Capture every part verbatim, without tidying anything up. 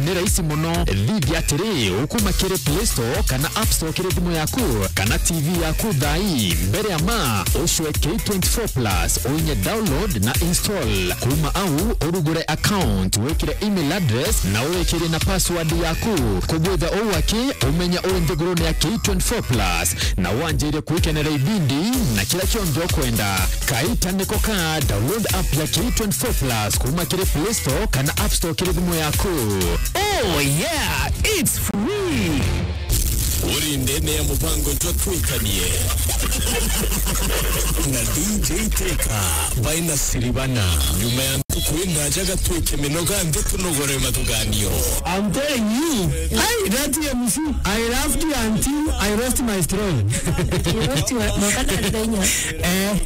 Ni rahisi mono. Thithia atiri, ukuma kiri Play Store kana App Store kiri thimu yaku kana T V yaku thaa ii, mbere ya ma, ucwe K twenty-four plus, uinye download na install. Kuma au, urugure account, wikire email address na uwikirie na password yaku. Kugwitha uu aki, umenya uri nthigurune ya K twenty-four plus, na wanjire kwikenera ibindi na kira kionthe ukwenda. Kaita niko ka, download app ya K twenty-four plus kuma kiri Play Store kana App Store kiri thimu yaku. Oh yeah, it's free. Uri ndene ya mubango jwa Twikanie na D J Teka by Nasiribana. Nyuma ya ntuku indaja gatwike minoga nthi tunogore mathuganio. I'm telling you, hey, that M C, I laughed until I lost my strong. You lost your, mwaka na thenya. Eh.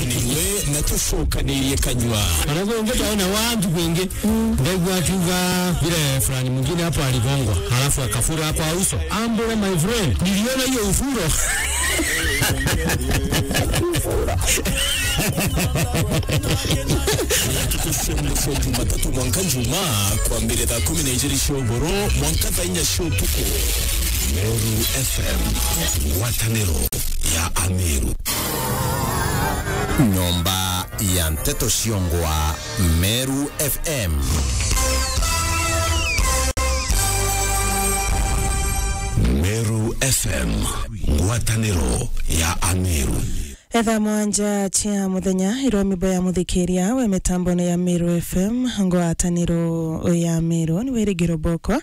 Niwe na tucokanirie kanyua. Ona kungi twaona wantu kungi. Ndaigua akiuga vile fulani mwingine hapo aligongwa, halafu akafura kwa uso. Ambule, my friend, niliona hiyo ufuro. Ntuku cia mwisho Jumatatu mwanka Jumaa, kwambire thaa kumi na ijiri cia ugoro mwanka thaa inya cia utuku. Meru F M, ngwataniro ya Ameru. Nyomba ya nteto ciongwa, Meru F M. Meru F M, ngwataniro ya Ameru. Etha mwanja cia muthenya, irwa mibo ya muthikiria we mitambone ya Meru F M, ngwataniro ya Meru, ni wirigiro boko.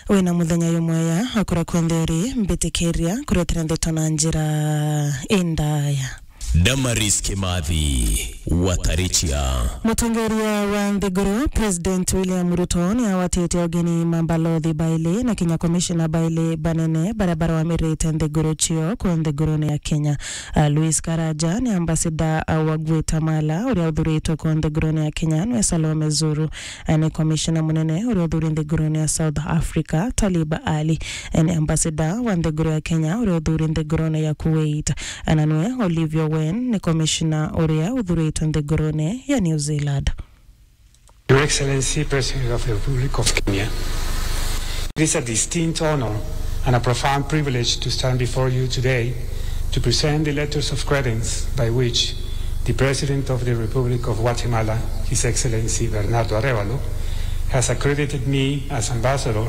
Wina muthenya yumwega, akura kunthe uri, mbitikiria kuretera ndeto na njira indaya. Damaris Kimathi, Watarichia. Mutongeria wa nthiguru, President William Ruto, ni awatite ugeni mambalothi baili na kinya komishina baili banene baria barawamirite nthiguru cio ku nthigurune ya Kenya. Ah, Louis Karaja ni ambassador, ah, wa Guatemala uria uthuritwe ku nthigurune ya Kenya, nwe Salome Zuru. Ah, ni komishina munene uria uthuri nthigurune ya South Africa, Talib Ali. Ah, ni ambassador wa nthiguru ya Kenya uria uthuri nthigurune ya Kuwait. Ah, na nwe Olivia Wen ni komishina uria uthuritwe nthigurune ya New Zealand. Your Excellency, President of the Republic of Kenya, it is a distinct honor and a profound privilege to stand before you today to present the letters of credence by which the President of the Republic of Guatemala, His Excellency Bernardo Arévalo, has accredited me as Ambassador,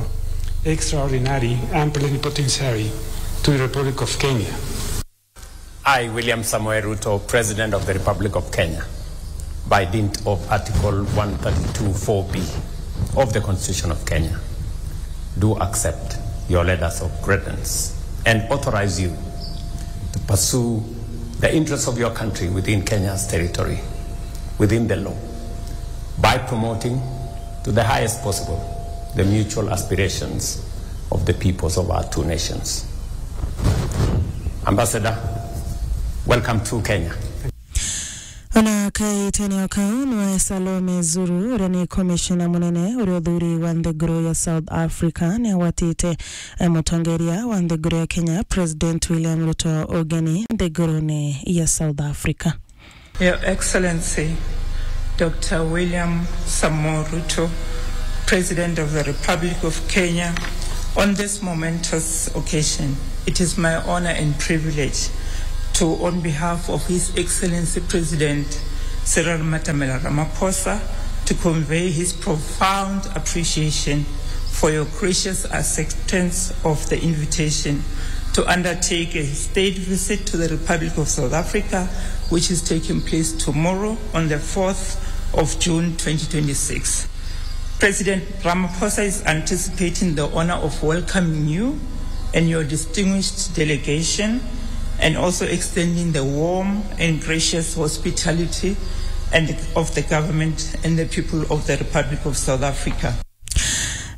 Extraordinary and Plenipotentiary to the Republic of Kenya. I, William Samoei Ruto, President of the Republic of Kenya, by dint of Article one thirty-two four B of the Constitution of Kenya, do accept your letters of credence and authorize you to pursue the interests of your country within Kenya's territory, within the law, by promoting to the highest possible the mutual aspirations of the peoples of our two nations. Ambassador, welcome to Kenya. Ona kaitene o kau, nwe Salome Zuru, uria ni komishina munene uria uthuri wa nthiguru ya South Africa, ni awatite, eh, mutongeria wa nthiguru ya Kenya, President William Ruto, ugeni nthigurune ya South Africa. Your Excellency, Doctor William Samoei Ruto, President of the Republic of Kenya, on this momentous occasion, it is my honor and privilege to, on behalf of His Excellency President Cyril Matamela Ramaphosa, to convey his profound appreciation for your gracious acceptance of the invitation to undertake a state visit to the Republic of South Africa, which is taking place tomorrow on the fourth of June twenty twenty-six. President Ramaphosa is anticipating the honor of welcoming you and your distinguished delegation, and also extending the warm and gracious hospitality and of the government and the people of the Republic of South Africa.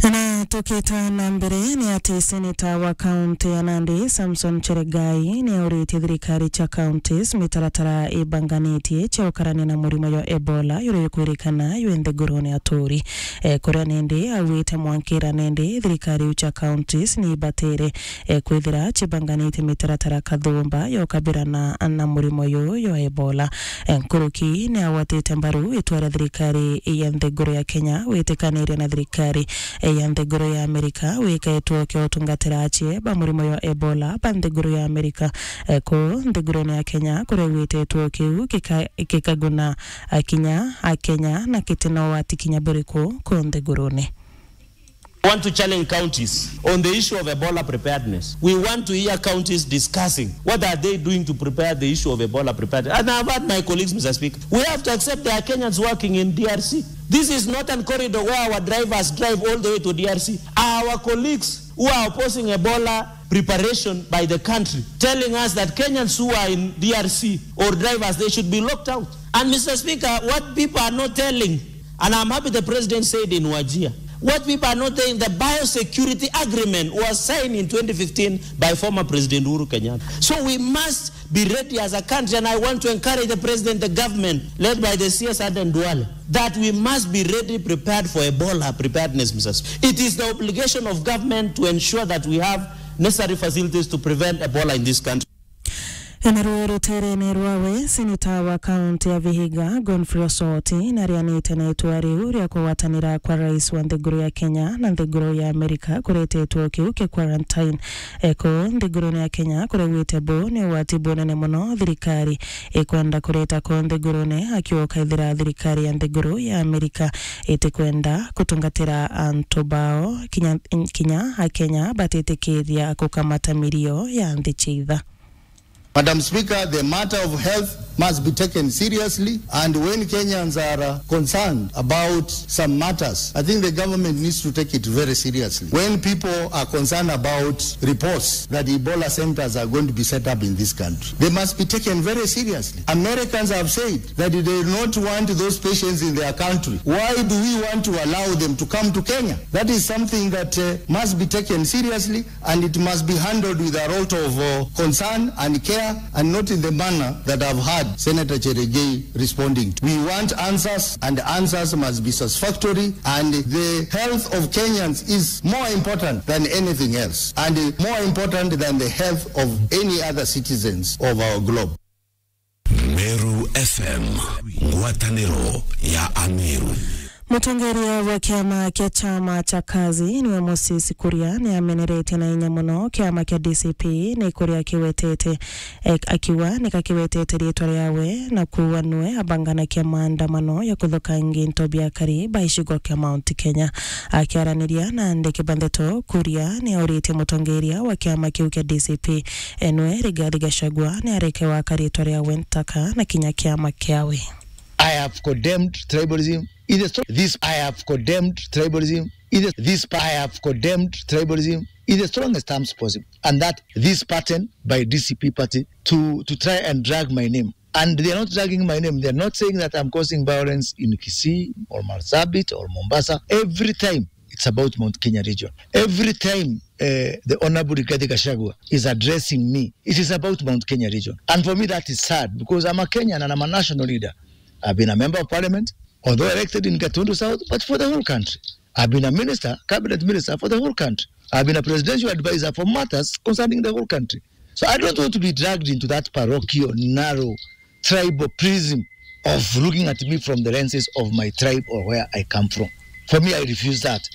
Na Tukite na mbere ni ati seneta wa kaunti ya Nandi, Samson Cheregai, ni auritie thirikari cia counties mitaratara ibanganitie cia ukarania na murimo jwa Ebola, juria jukwirikana jwi nthigurune aturi. E, kuria nindi augite mwankira nindi thirikari iu cia counties ni ibatire, e, kwithira cibanganitie mitaratara kathumba ya ukabirana na murimo juju jwa Ebola. E, nkuruki ni agwatite mbaru itua ria thirikari ya nthiguru ya Kenya gwitikaniria na thirikari ya nthiguru ya Amerika wika gituo kia utungatira acii ba murimo jwa Ebola ba nthiguru ya Amerika. E, kuu nthigurune ya Kenya, kuria gwite gituo kiu gika-, gikaguna akinya Akenya na giti na ugwati kinya buriku kuu nthigurune. We want to challenge counties on the issue of Ebola preparedness. We want to hear counties discussing what are they doing to prepare the issue of Ebola preparedness. And I've heard my colleagues, Mister Speaker, we have to accept there are Kenyans working in D R C. This is not a corridor where our drivers drive all the way to D R C. Our colleagues who are opposing Ebola preparation by the country, telling us that Kenyans who are in D R C or drivers, they should be locked out. And Mister Speaker, what people are not telling, and I'm happy the president said in Wajir, what people are not telling, the biosecurity agreement was signed in twenty fifteen by former President Uhuru Kenyatta. So we must be ready as a country, and I want to encourage the president, the government led by the C S Aden Duale, that we must be ready, prepared for Ebola preparedness, Mister Speaker. It is the obligation of government to ensure that we have necessary facilities to prevent Ebola in this country. Naruo ruteerene rwawe, seneta wa kaunti ya Vihiga, Godfrey Osoti, narianite na itua riu ria kugwatanira kwa rais wa nthiguru ya Kenya na nthiguru ya Amerika kureta gituo kiu kia quarantine. E, kuu nthigurune ya Kenya, kuria gwite bu ni ugwati bunene mono thirikari ikwenda kureta kuu nthigurune, akiuga kaithira thirikari ya nthiguru ya Amerika itikwenda kutungatira antu bao, kinya, kinya Akenya batitikiria kukamata mirio ya nthi cia itha. Madam Speaker, the matter of health must be taken seriously, and when Kenyans are, uh, concerned about some matters, I think the government needs to take it very seriously. When people are concerned about reports that Ebola centers are going to be set up in this country, they must be taken very seriously. Americans have said that they do not want those patients in their country. Why do we want to allow them to come to Kenya? That is something that, uh, must be taken seriously. And it must be handled with a lot of, uh, concern and care, and not in the manner that I've heard Senator Cheregei responding to. We want answers, and answers must be satisfactory, and the health of Kenyans is more important than anything else, and more important than the health of any other citizens of our globe. Meru F M, ngwataniro ya Ameru. Mutongeria wa kiama kia chama cha Kazi niwe Moses Kuria ni ameneretie na inya mono kiama kia D C P ni kuria kiwetete, e, akiuga ni kakiwetete riitwa riawe na kuuga nwe abanganakia maandamano ya kuthukangia into bia akari ba icigo kia Mount Kenya. Akiaraniria na andiki ba ndeto, Kuria ni auritie mutongeria wa kiama kiu kia D C P enwe Rigathi Gachagua ni areke gwaka riitwa riawe ntaka na kinya kiama kiawe. I have condemned tribalism. It is this I have condemned tribalism. It is this I have condemned tribalism in the strongest terms possible, and that this pattern by D C P party to to try and drag my name. And they are not dragging my name. They are not saying that I'm causing violence in Kisii or Marsabit or Mombasa. Every time it's about Mount Kenya region. Every time, uh, the Honorable Rigathi Gachagua is addressing me, it is about Mount Kenya region. And for me, that is sad because I'm a Kenyan and I'm a national leader. I've been a member of parliament, although elected in Gatundu South, but for the whole country. I've been a minister, cabinet minister for the whole country. I've been a presidential advisor for matters concerning the whole country. So I don't want to be dragged into that parochial, narrow, tribal prism of looking at me from the lenses of my tribe or where I come from. For me, I refuse that.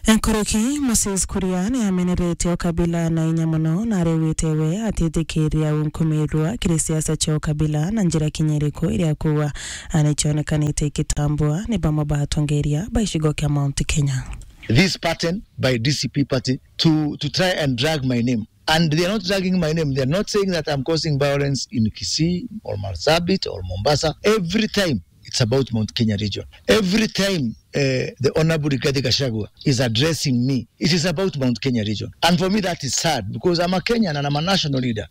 Nkuruki, Moses Kuria ni ameneretie o kabila na inya mono na arewite we atitikiria unkumirwa kiri siasa cia ukabila na njira kinya iriku iria kuwa ni cionekanite ikitambua ni bamwe ba atongeria ba icigo kia Mount Kenya. This pattern by D C P party to to try and drag my name. And they are not dragging my name. They are not saying that I'm causing violence in Kisii or Marsabit or Mombasa. Every time it's about Mount Kenya region. Every time, uh, the Honorable Rigathi Gachagua is addressing me, it is about Mount Kenya region. And for me, that is sad because I'm a Kenyan and I'm a national leader.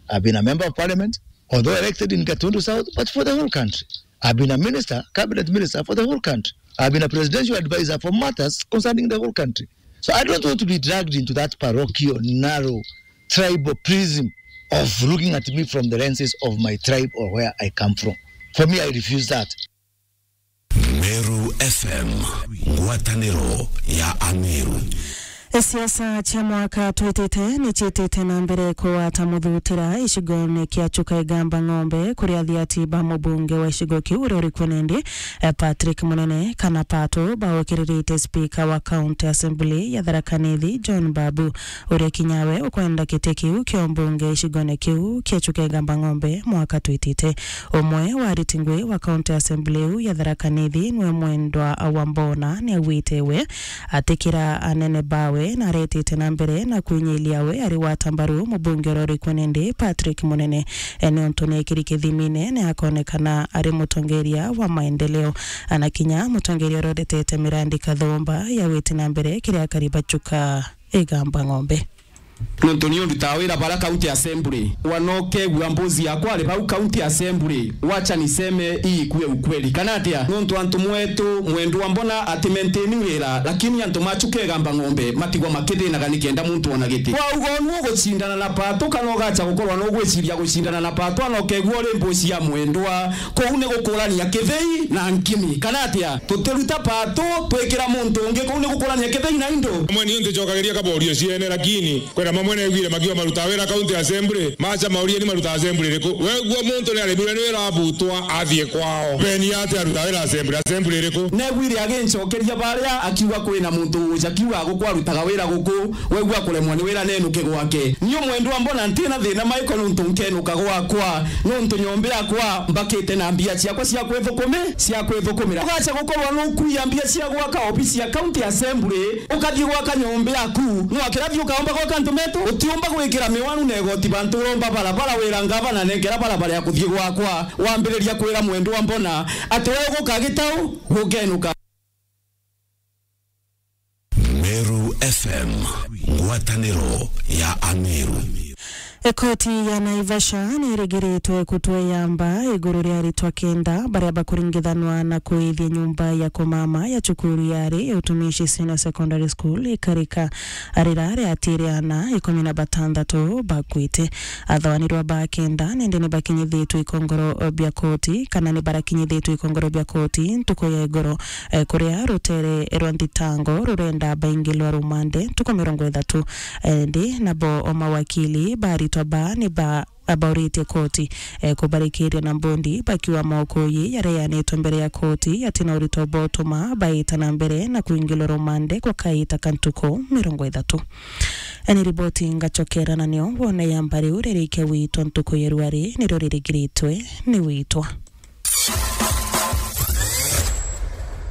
I've been a member of parliament, although elected in Gatundu South, but for the whole country. I've been a minister, cabinet minister for the whole country. I've been a presidential advisor for matters concerning the whole country. So I don't want to be dragged into that parochial, narrow, tribal prism of looking at me from the lenses of my tribe or where I come from. For me, I refuse that. Meru F M, ngwataniro ya Ameru. Siasa cia mwaka twitite ni ciitite na mbere kugwata muthutira icigone kia Chuka Igamba Ng'ombe, kuria athiati ba mubunge wa icigo kiu uria uri kuo nindi, eh, Patrick Munene kana Pato, baukiriritie spika wa County Assembly ya Tharaka Nithi, John Babu, uria kinya we ukwenda giti kiu kia umbunge icigone kiu kia Chuka Igamba Ng'ombe mwaka twitite. Umwe wa ariti ngui wa County Assembly iu ya Tharaka Nithi niwe Mwendwa Wambona niaugite we atikira anene bawe na aretite na mbere na kwinyilia we ari gwata mbaru mubunge uria uri kuo nindi Patrick Munene, e, niuntu ni ekiri kithimine ni akonekana ari mutongeria wa maendeleo, ana kinya mutongeria uria uretete mirandi kathumba ya gwiti na mbere kiri akari ba Chuka Igamba Ng'ombe. Nontu ni undutaa wira bara County Assembly. Wanokegua mbuzi yakwa ari bau County Assembly. Wacha niseme hii ikuwe ukweli. Kana atia? Nontu antu mwetu Mwendwa Mbona ati maintain wira, lakini antu ma Chuka Igamba Ng'ombe matigwa makithinaga nikenda muntu ona giti. Wauga nu ugucindana na Pato kana ugacha gukorwa nu ugwiciria gucindana na Pato, anokegua uri mbuzi ya Mwendwa. Kuu ni gukurania kithei na nkimi, kana atia? Tutiruta Pato twikira muntu ungi, kuu ni gukurania kithei na indo. Amwe niu nticokagiria kaborio ciene, lakini kwina mamwe neguire makiuga marutaa wira County Assembly, macha maurie ni marutaa assembly iriku? Wegua muntu ni aremirwe ni wira abutwa athie kwao. Beni ati arutaa wira assembly, assembly iriku? Neguire agincokeria baria akiuga kwina muntu uja kiuga guku arutaga wira guku, wegua kuremwa ni wira nenuke gwake. Niu Mwendwa Mbona ntina thina maiko nontu nkenuka gwakwa, nontu nyomba yakwa mbakite na mbia ciakwa cia kwithukumi-, cia kwithukumira. Ugacha gukorwa nukuia mbia cia gwaka obisi ya County Assembly, ukathii gwaka nyomba yaku. Nwakira thii ukaomba gwaka antu metu? Utiumba gwikira miwanu na igoti bantu uromba barabara, wira ngavana nenkera barabara ya kuthii gwakwa. Wambiriria kwira Mwendwa Mbona ati we uguka gitau, gukenuka. Meru F M, ngwataniro ya Ameru. Koti ya Naivasha ni irigiritwe kutua yamba iguru ria aritwa kenda baria bakuringithanwa na kuithia nyumba ya kumama ya cukuru ya ari ya Utumishi Senior Secondary School ikarika. Arira riatire ana ikumi na batandatu bakwite. Athawanirwa ba kenda nindi ni bakinyithitwe ikongoro bia koti, kana ni barakinyithitwe ikongoro bia koti ntuku ya igoro, eh, kuria rutere rwa nthitango rurenda baingilwa rumande ntuku mirongo ithatu. Eh, ndi nabo o mawakili baritwa ba ni ba abauritie koti, eh, kubarikiria na mbondi bakiuga maukuyi yaria yaneanitwe mbere ya koti yatina urito bwa utuma baita na mbere na kuingilwa rumande gwa kaita ka ntuku mirongo ithatu. Ni riboti ngacokera na nio wone yamba riu ririkia witwa ntuku ya rwari nirio ririgiritwe ni witwa.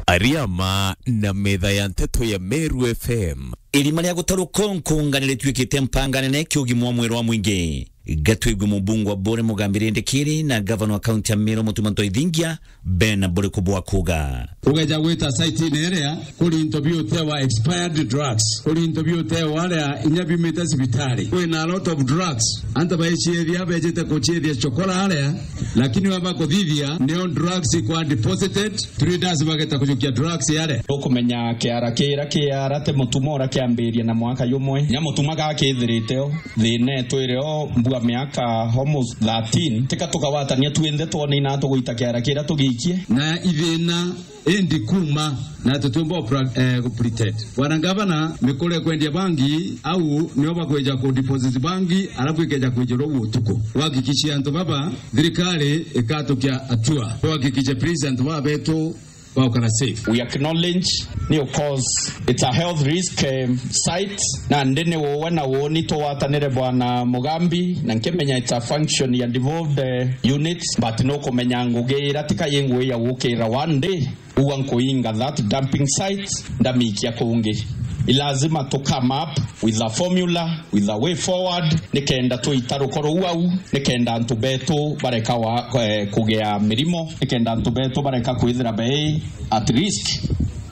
Ariama na metha ya nteto ya Meru F M. Irima ria gutaruka nkunga ni rituikite mpanga nene kia ugima wa mwiri wa mwingi. Gatwigwe mubunge wa Bore Mugambi Rindikiri na gavana wa kaunti ya Meru Mutuma Ntoithingia bena buriku bwa kuuga. Ugeja gwita site-ini iria kuri into biutewa expired drugs, kuri into biutewa aria inya biumite cibitari. Kwina a lot of drugs. Antu baiciithia bejite kuciithia chokora aria, lakini wamba kuthithia nio drugs ikwa deposited, traders bageta kujukia drugs aria. Ukumenya kiara kira kiara ti Mutuma uria kiambirie na mwaka jumwe. Nya Mutuma gakithirite o. Thina itwire o mbua miaka almost thirteen, tika tukawatania twinthe twone ina tugwita kiara kiria tugiikie. Na ithina indi kuma na tutiumba kupra-, eh, kupretend. Bwana Ngavana, mikore kwendia bangi, au nio bakwija ku deposit bangi, alafu ikeja kwijirwo utuku. Wahakikishie antu baba, thirikari ikatukia hatua. Tuhakikishe please antu baba betu baukara safe. We acknowledge ni, of course, it's a health risk, eh, site, na ndi ni uwe na uuni tugwatanire Bwana Mugambi, na nkimenya it's a function ya devolved, eh, units, but no kumenya ngugi ira tika yi ngugi ya gukira one day, ugwa nkuinga that dumping site, ndamikia kungi. I lazima to come up with a formula, with a way forward, nikenda tuita rukoro ruu au, nikenda antu betu bareka wa, eh, kugea mirimo, nikenda antu betu bareka kwithira bei at risk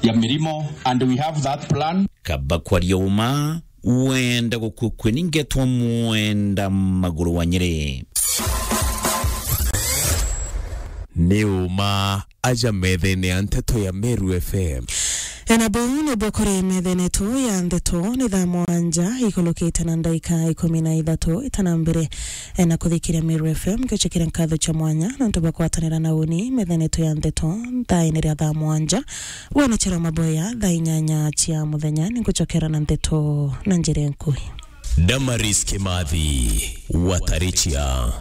ya mirimo, and we have that plan. Kaba kwaria uma, wenda gukukwe ningetwa mwenda maguru wa Nyeri. Ni uma aja methene ya nteto ya Meru F M. Na buu nibuo kuri methene yetu ya ndeto. Ni thaa mwanja ikulukite na ndaika ikumi na ithatu. Itana mbere, e, na kuthikiria Meru F M, ngicokeria nkatho cia mwanya nontu bwa kwatanira na uni methene yetu ya ndeto. Thaa ini ria thaa mwanja, wona chero maboya thaa inyanya cia muthenya, ningucokera na ndeto na njira nkui. Damaris Kimathi, Watarichia.